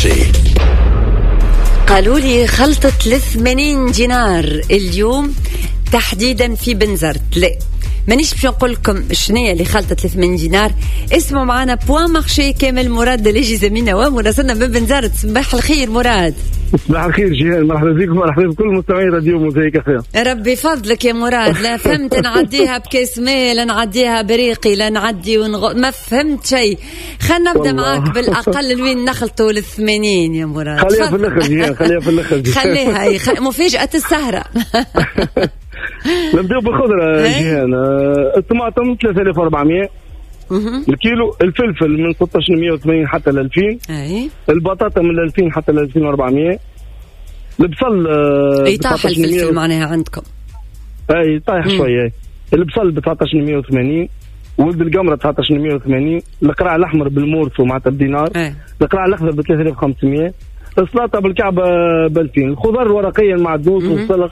marché. قالوا لي خلطة ل 80 دينار اليوم تحديدا في بنزرت. لا، مانيش باش نقول لكم شنية اللي خلطت 80 دينار. اسمعوا معنا point marché كامل، مراد اللي زميلنا ومراسلنا من بنزرت. صباح الخير مراد. صباح الخير جيهان، مرحبا بكم، مرحبا بكل مستمعي راديو موزايك اف. ربي فضلك يا مراد. لا فهمت نعديها بكاس ماء، لا نعديها بريقي، لا نعدي ما فهمت شيء. خلينا نبدا معاك بالاقل، لوين نخلطوا لل 80 يا مراد؟ خليها في الاخر جيهان، خليها في الاخر. خليها مفاجاة السهره. نبداو بالخضره جيهان. الطماطم 3400 الكيلو، الفلفل من 1680 حتى ل 2000، البطاطا من 2000 حتى ل 2400، البصل اي طاح الفلفل معناها عندكم؟ اي طايح شويه. البصل ب 1980، ولد القمره 1980، القرع الاحمر بال morceau معناتها بدينار، القرع الاخضر ب 3500، السلطة بالكعبة ب 2000، الخضر الورقية المعدنوس والسلق.